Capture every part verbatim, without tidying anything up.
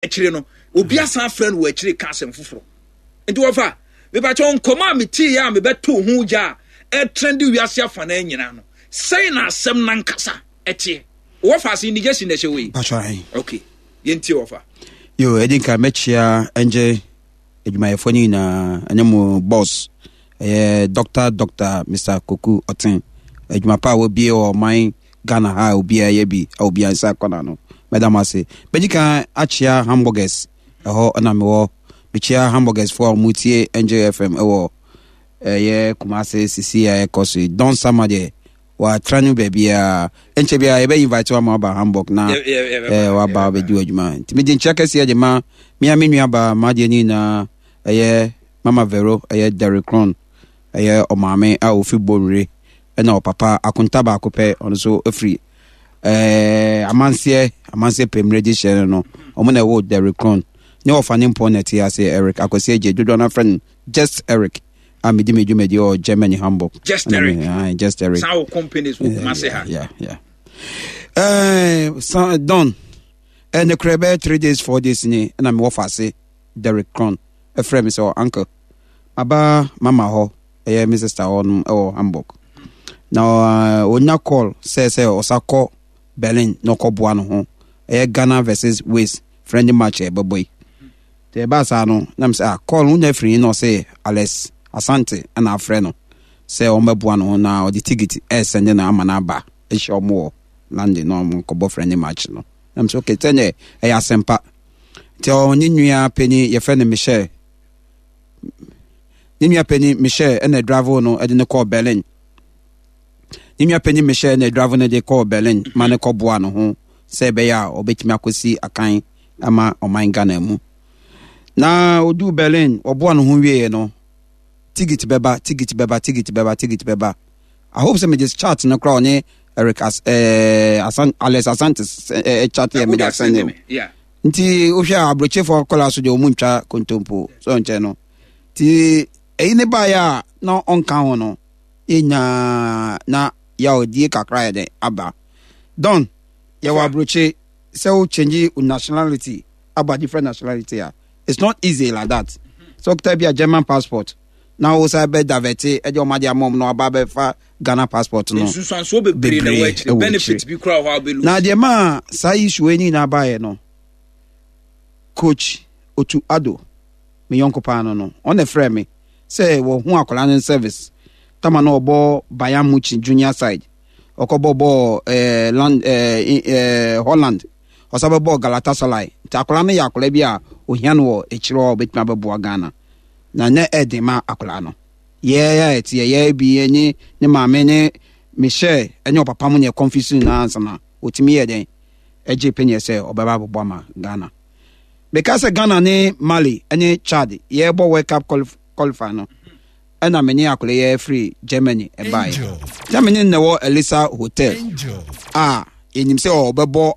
Akyire no obi asan afrɛ no wɔ akyire ka asɛm foforɔ. Nti wɔfa mepakyɛ nkɔmɔ a metee a mebɛto ho gya a ɛtrɛnde wiase afa no nyinaa no, sɛn na asɛm nankasa ɛteɛ? Wɔfa ase indigesi na ɛhyɛ wei. Patro. Okay, yɛntie wɔfa. Yo, ɛdi nka mɛkyia ɛngyɛ adwumayɛfoɔ no nyinaa ɛne mo boss, ɛyɛ doctor Doctor Mister Koku Ɔten. Adwuma pa a wɔbie wɔ ɔman Ghana ha a obiara yɛ bi a obiara nsa kɔna no, mɛda mo ase. Bɛgye kan akyia Hamburgers ɛhɔ ɛna mewɔ. Mekyia Hamburgers foɔ a wɔtie Angel F M ɛwɔ ɛyɛ Kumase sisi a ɛkɔ so yi. Don Sama deɛ watra no baabiara, nkyɛ biara yɛbɛ invite wa ma waba Hamburg na ɛɛ waba abɛdi w'adwuma. Nti megye nkyia kɛseɛ de ma mea me nua ba maadeɛ ne nyinaa, ɛyɛ Mama Vero, ɛyɛ Derek Cron, ɛyɛ ɔmaame a ofi Bonwire, ɛna ɔpapa akonta baako pɛ, ɔno nso efiri ɛɛ amanseɛ amanseɛ pɛmire de hyɛ no no ɔmo na ɛwɔ Derek Cron ne ɔfa ne mpɔ na ɛte ase. Eric Akwasi Agye, dodoɔ no afrɛ no Just Eric, a medi me dwumadi wɔ Germany, Hamburg. Just Eric. Aye, Just Eric. Saa wɔ companies wɔ Kumase ha. Yeah, yeah. Eh, sa, Don, eh, ne kura bɛyɛ three days four days ni ɛna mewɔ faase Derek Cron ɛfrɛ me sɛ, "Uncle, aba mama hɔ, ɛyɛ me sister hɔ nom ɛwɔ Hamburg na uh, onya call sɛ sɛ ɔsa kɔ Berlin na ɔkɔboa no ho, ɛyɛ Ghana versus Wales friendly match a ɛbɛbɔ yi." Nti ɛbaa saa no na mesɛ, "Ah, call no wonya firi?" Na ɔsɛ Alex Asante ɛna afrɛ no sɛ ɔmmɛboa no ho na ɔde ticket ɛsɛnde no ama no aba ɛhyɛ ɔmo wɔ London na ɔmo nkɔbɔ friendly match no. Na mesɛ, "Okay, sɛneɛ ɛyɛ asɛmpa." Nti ɔne nua panyin yɛfrɛ no Michelle, ne nua panyin Michelle ɛna drive no ɛde no kɔɔ Berlin. Ne nua panyin Michelle ɛna drive no de kɔɔ Berlin ma ne kɔboa no ho sɛ ɛbɛyɛ a ɔbɛtumi akɔsi akan ama ɔman Ghana mu. Na oduu Berlin, ɔboa no ho wieɛ no, ticket bɛba, ticket bɛba, ticket bɛba, ticket bɛba. I hope sɛ mede chat no koraa ɔne Eric As ɛɛ Asan Alex Asante ɛɛ chat yɛ mede asɛn ne. Yeah. Nti wohwɛ a aburokyefoɔ kɔla so deɛ, ɔmu ntwa kontompo so nkyɛn no. Nti ɛyi ne baeɛ a na ɔnka ho no, yɛnyaa na yɛawdie kakra yɛ dɛ aba. Don, yɛwɔ aburokye sɛ wo change wo nationality aba different nationality a, it's not easy like that. Sɛ wokita bi a German passport na wo sa bɛ divert ɛde ɔmo ade ama ɔmo na waba bɛfa Ghana passport no, nsusuansoɔ bebree na ɛwɔ akyire, ɛwɔ benefit akyire. Bi koraa wɔ hɔ a wobɛlu. Na deɛ maa saa issue yi nyinaa baeɛ no, Coach Otu Ado, me yɔnko paa no no ɔna frɛ me sɛ wɔho akwadaa no service tama na ɔbɔ Bayern Munich junior side, ɔkɔbɔ bɔɔl ɛɛ land ɛɛ ɛɛ Holland, ɔsan bɛbɔ Galatasaray. Nti akwadaa no yɛ akwadaa bi a ohia no wɔ akyire hɔ a ɔbɛtumi abɛboa Ghana na ne ɛden ma akwadaa no. Yɛɛ a ɛte yɛ bi ne ne maame ne Michelle ɛne ɔpapa mu ne ɛkɔnfisi nyinaa ansa na otumi yɛ dɛn ɛgye panyin sɛ ɔbɛba abɛbɔ ama Ghana. Meka sɛ Ghana ne Mali ne Chad yɛbɔ World Cup qualif qualify no, ɛna me ne akwadaa yɛ firi Germany ɛbaeɛ. Germany na ɛwɔ Elisa Hotel a yɛnim sɛ ɔbɛbɔ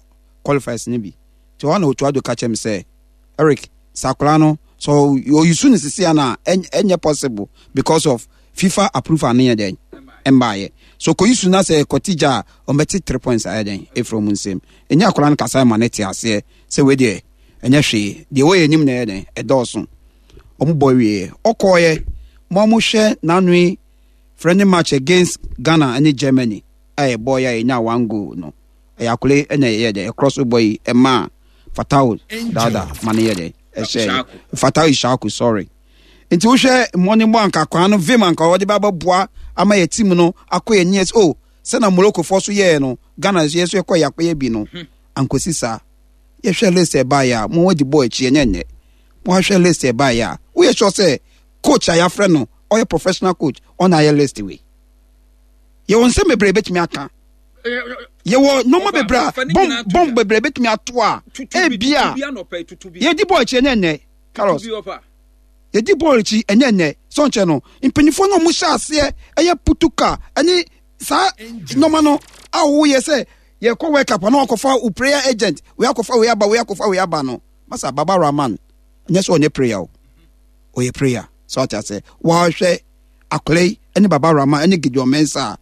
qualifiers no bi. Nti ɔhɔ na Otu Ado ka kyerɛ me sɛ, "Eric, sɛ akwadaa no sɛ ɔyisu no sisi ana ɛnyɛ possible because of FIFA approval no yɛ dɛn ɛmbaayɛ so kɔyisu na sɛ kɔte gya a ɔmbɛte three points ayɛ dɛn ɛfiri ɔmo nsam." Ɛnyɛ akwadaa no kasa ma ne te aseɛ sɛ wei deɛ ɛnyɛ hwee deɛ wɔyɛ anim na ɛyɛ dɛn ɛdɔɔso. Ɔmo bɔ wie, ɔkɔɔyɛ mo a mohwɛ n'ano yi, friendly match against Ghana ne Germany a yɛbɔ yɛ a yɛnya one goal no, ɛyɛ akole ɛna ɛyɛ dɛ ɛkorɔ so bɔ yi ɛma Fatao Dada ma no yɛ dɛ ɛhyɛ Fatao Ishaku, sorry. Nti wohwɛ mmɔne bɔ anka kwan no vim anka wɔde ba bɛboa ama yɛ team no akɔ yɛ niɛ o sɛna Morocco foɔ so yɛɛ no, Ghana nso yɛ so yɛkɔ yɛ akɔyɛ bi no ankosi saa. Yɛhwɛ list ɛbaeɛ a mo wɔde bɔ akyi ɛnyɛ nnɛ. Mo ahwɛ list ɛbaeɛ a, woyɛ sure sɛ coach a yɛafrɛ no ɔyɛ professional coach ɔna ayɛ list wei? Yɛwɔ nsɛm bebree bɛtumi aka, yɛwɔ nneɛma bebree a bɔm bɔm bebree bɛtumi ato a ebia yɛdi bɔɔl akyi ɛnyɛ nnɛ. Carlos, yɛdi bɔɔl akyi ɛnyɛ nnɛ. Sɔnkyɛn no mpanyinfoɔ no a wɔn hyɛ aseɛ ɛyɛ putuka ɛne saa nneɛma no a wɔyɛ sɛ yɛkɔ World Cup na wakɔfa wo player agent wei, akɔfa wei aba wei, akɔfa wei aba no. Masa, Baba Rahman nyɛ sɛ ɔnyɛ player o, ɔyɛ player sɛ ɔte ase. Wɔahwɛ akɔla yi ɛne Baba Rahman ɛne Gideon Mensah,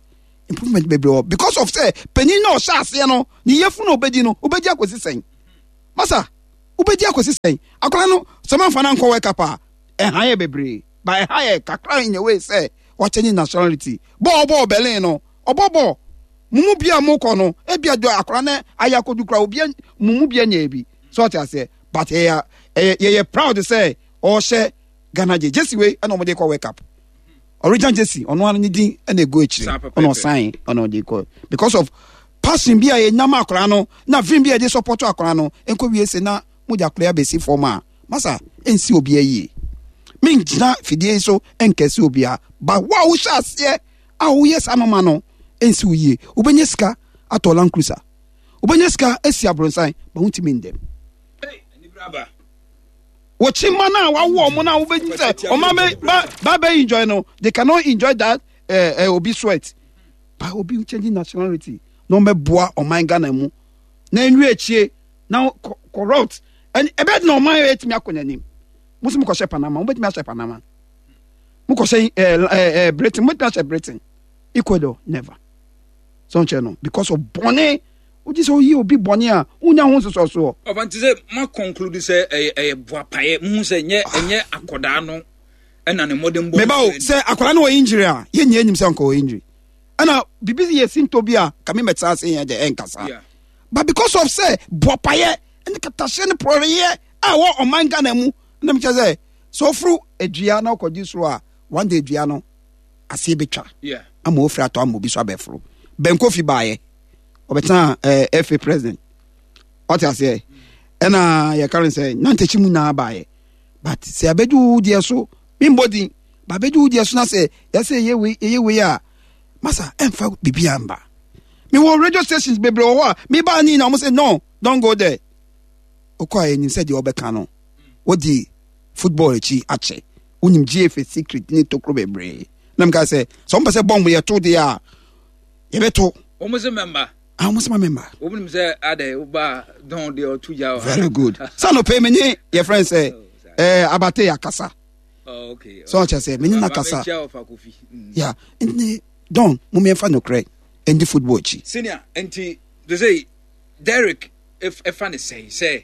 improvement bebree wɔ because of sɛ panyin na ɔhyɛ aseɛ no ne yɛfu na ɔbɛdi no, ɔbɛdi akɔsi sɛn. Masa, Wobɛdi akɔsi sɛn? Akwadaa no sɛ mamfa no ankɔ World Cup a, ɛha yɛ bebree, but ɛha yɛ kakra in a way sɛ wakyɛnye nationality. Bɔɔl bɔɔl Berlin no, ɔbɔ bɔɔl. Mo mu bia mokɔ no, ebia do akwadaa no ayɛ akɔdu koraa, obia mo mu bia nyɛɛ bi. So ɔte aseɛ? But yɛyɛ ɛyɛ yɛyɛ proud sɛ ɔhyɛ Ghana gye jersey wei ɛna ɔmo de kɔ World Cup. Original jersey, ɔno ara ne din ɛna egu akyire, ɔna ɔsan ɔna ɔde kɔ because of passion bi a yɛnya ma akwadaa no na vim bi a yɛde support akwadaa no. Nkɔ wie se na mo de akwadaa abɛsi fam a, masa nsi obi ayie. Mengyina fidie yi so nkɛse obiara, but wo a wohyɛ aseɛ a woyɛ saa nɔɔma no, nsi wo yie. Wobɛnya sika atɔ Land Cruiser, wobɛnya sika asi abrɔnsan, but wontumi ndɛm. Wɔkyi mma no a wawo ɔmo no a, wobɛnyi sɛ ɔma bɛ ba ba bɛ enjoy no, they cannot enjoy that uh, uh, obi sweat. But obi change nationality na ɔmɛboa ɔman Ghana mu na nwie akyie na corrupt ɛn ɛbɛ na ɔman yɛ etumi akɔ n'anim. Mo nso mo kɔhyɛ Panama, mo bɛtumi ahyɛ Panama. Mo kɔhyɛ ɛɛ ɛɛ Britain, mo bɛtumi ahyɛ Britain. Ecuador, never. So nkyɛn no because of bɔnne wogye sɛ woyi obi bɔne a, wonya ho nsosɔsoɔ. Ɔfa nti sɛ ma conclude sɛ ɛyɛ ɛyɛ boapaeɛ muhu sɛ ɛnyɛ ɛnyɛ akɔdaa no ɛna ne mmɔden bɔ. Meba o, sɛ akwadaa no wɔ injury a, yɛnyɛ anim sɛ nka wɔ injury ɛna biribi yɛ sinto bi a kame mɛtena ase yɛn deɛ ɛnkasa, but because of sɛ boapaeɛ ne katahyɛ ne porɔreyɛ a ɛwɔ ɔman Ghana mu, na mekyɛ sɛ sɛ ɔforo adua na ɔkɔgye soro a, one day dua no aseɛ bɛtwa ama ofiri atɔ ama obi so abɛforo. Bɛnkofi baayɛ ɔbɛtena ɛɛ eh, F A president, ɔte aseɛ, ɛna yɛka no sɛ nantakyi mu nyinaa baayɛ, but sɛ abɛdu wo deɛ so, membɔ din ba, abɛdu wo deɛ so na sɛ yɛsɛ ɛyɛ wei ɛyɛ wei a, masa ɛmfa biribiara mba. Mewɔ radio stations bebree wɔ hɔ a mebaa ne nyinaa ɔmo sɛ no, don't go there. Wokɔ a, yɛnim sɛ deɛ ɔbɛka no wodi football akyi akyɛ, wonim G F A secret ne tokuro bebree, na meka sɛ sɛ ɔmpɛ sɛ bɔmbo yɛto deɛ a, yɛbɛto. Wɔn sɛ mɛmba. Ah, wɔn sɛ ma mɛmba. Wɔn nim sɛ adɛ woba dɔn deɛ ɔto gya wɔ. Very good. Sɛ anɔpɛ mi nye yɛ friend sɛ ɛɛ abate yɛ akasa. Oh, okay. Sɛ ɔkyɛ sɛ mi nye n'akasa. Ya nti dɔn mo mmiɛnfa nokorɛ ɛndi football akyi. Senior, nti de sɛ Derek ɛfa ne sɛn sɛ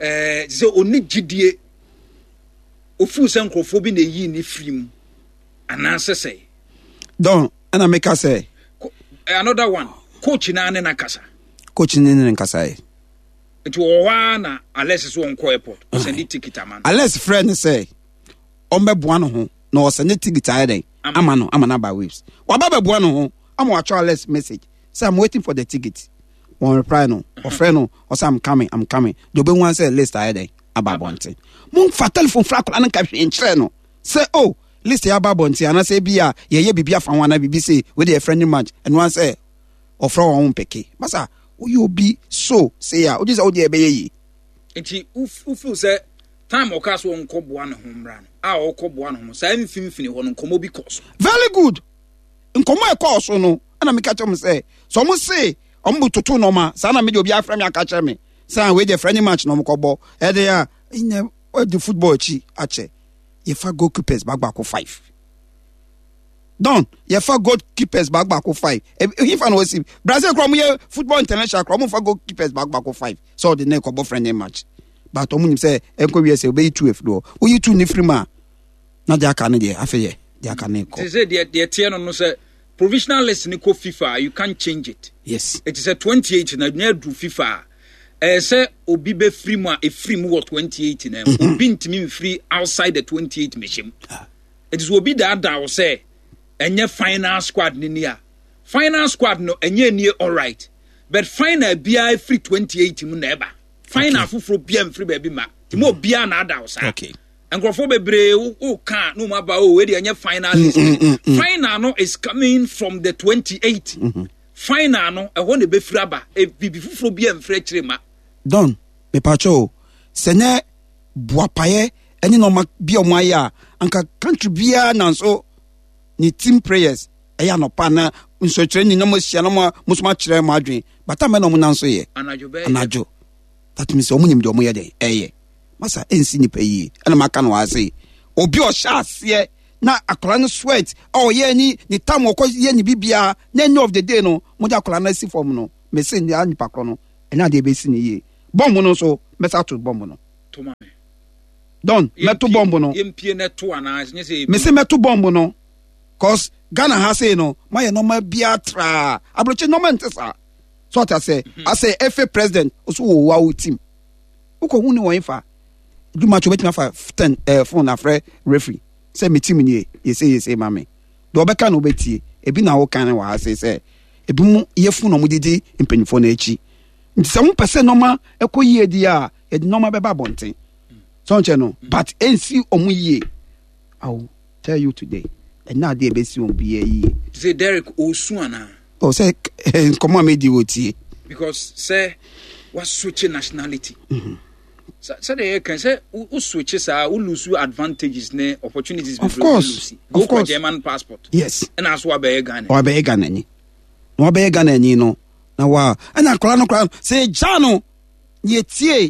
ɛɛ sɛ oni gyidie ofuu sɛ nkurɔfoɔ bi na eyi ne firi mu anaasɛ sɛ. Dɔn ɛna meka sɛ. Another one, coach naa ne n'akasa. Coach ne ne nkasa yɛ. Nti wɔ hɔ ara na Alex so ɔnkɔ airport, ɔsɛnde ticket ama no. Alex frɛ ne sɛ ɔmbɛboa no ho na ɔsɛnde ticket ayɛ dɛn ama no ama no aba Waves. Waba bɛboa no ho ama watwerɛ Alex message sɛ, "I'm waiting for the ticket." Wɔn reply no, ɔfrɛ no, ɔsɛ, "I'm coming, I'm coming." Deɛ ɔbɛhu an sɛ list ayɛ dɛn aba abɔnten. Momfa telephone fra akwadaa no nka hwee nkyerɛ no sɛ, oh, list yɛ aba abɔnten anaasɛ ebi a yɛyɛ biribi afa ho anaa biribi sɛ wei de yɛ friendly match. Ɛno an sɛ ɔfrɛ wɔn ho mpɛke masa woyɛ obi so sei a wogye sɛ wodeɛ ɛbɛyɛ yie. Nti wo feel sɛ time ɔka so ɔnkɔ boa ne ho mmra no a, ɔkɔ boa ne ho saa mfimfini hɔ no, nkɔmmɔ bi kɔ so? Very good. Nkɔmmɔ a ɛkɔɔ so no, ɛna meka kyerɛ mo sɛ sɛ ɔmo se ɔmo bu toto nɔɔma saa na mede obi afrɛ me aka kyerɛ me sɛ, ah, wei deɛ friendly match na ɔmo kɔbɔ ɛde a ɛnyɛ ɔde football akyi akyɛ. Yɛfa goalkeepers baako baako five don, yɛfa goalkeepers baako baako five. Ehifa na wɔsi Brazil kora ɔmo yɛ football international kora, ɔmo fa goalkeepers baako baako five sɛ ɔde ne kɔbɔ friendly match, but ɔmo nim sɛ ɛnkɔ wie sɛ ɔbɛyi two efiri hɔ. Woyi two ne firi mu a, na deɛ aka ne deɛ afei yɛ deɛ aka ne kɔ. Te sɛ deɛ deɛ teɛ no no sɛ provisional list ni kɔ FIFA, you can't change it. Yes. Eti sɛ twenty eight na nyɛ duru FIFA a, ɛyɛ sɛ obi bɛfiri mu a, ɛfiri mu wɔ twenty eight na mu. Obi ntumi mfiri outside the twenty eight mehyɛ mu. Eti sɛ obi daadaa wo sɛ ɛnyɛ final squad ni ni a, final squad no ɛnyɛ nie, alright, but final biara firi twenty eight mu na ɛba. Final okay. Foforɔ biara mfiri baabi ma nti mo obiara na ada wo saa. Okay. Nkurɔfoɔ bebree wo ka na wɔn aba o, wei deɛ ɛnyɛ final list. Mm, mm, mm, final no is coming from the twenty eight. Mm-hmm. Final no ɛhɔ na ebɛfiri aba, bibi foforɔ bi mfiri akyire ma. Don mepatwa o, sɛ nyɛ boapayɛ ɛne nɔɔma bi a ɔmo ayɛ a, anka country biara nanso ne team prayers ɛyɛ anɔpa na nsɔkyerɛ ni na mo ahyia na mo mo nso mo akyerɛ mo adwene bata mɛ na ɔmo nan so yɛ anadwo bɛyɛ anadwo. That means ɔmo nim deɛ ɔmo yɛ dɛ ɛyɛ masa ɛnsi nipa yie. Ɛna maka no ase obi ɔhyɛ aseɛ na akwadaa no sweat a ɔyɛ ni ne tam ɔkɔ yɛ ne bibia na end of the day no mo de akwadaa no asi fam no, mese nea nipa korɔ no ɛnyɛ adeɛ bɛsi ne yie. Bɔmbo no nso, mɛsa to bɔmbo no. Don, mɛto bɔmbo no. Yɛmpie na to anaa nyɛ sɛ mese mɛto bɔmbo no, cause Ghana ha sei no, mayɛ nɔɔma biara traa. Aburokyi nɔɔma nte saa. So ɔta sɛ asɛ F A president ɔso wɔ wa wo team wokɔ hu ne wɔn fa dwuma kyɛ, wobɛtumi afa ten ɛɛ phone afrɛ referee sɛ me team nie, yɛsɛ yɛsɛ ma me deɛ ɔbɛka na wobɛtie. Ebi na woka ne wɔ ha sei sɛ ebi mu yɛfu na ɔmo didi mpanyinfoɔ no akyi. Nti sɛ wopɛ sɛ nɔɔma ɛkɔ yie di a, yɛde nɔɔma bɛba abɔnten sɛ ɔnkyɛ no, but ɛnsi ɔmo yie. I will tell you today, ɛna adeɛ ɛbɛsi wɔn biara yie. Sɛ Derek ɔsu anaa? Ɔ sɛ nkɔmɔ a medi wɔ tie. Because sɛ waswitch nationality, sɛdeɛ yɛka sɛ wo switch saa, wo lose advantages ne opportunities. Of course, of course. German passport. Yes. Ɛna so wabɛyɛ Ghana. Wabɛyɛ Ghana ni na wabɛyɛ Ghana ni no na wa ɛna akwaraa no koraa sɛ yɛgya no, yɛtie.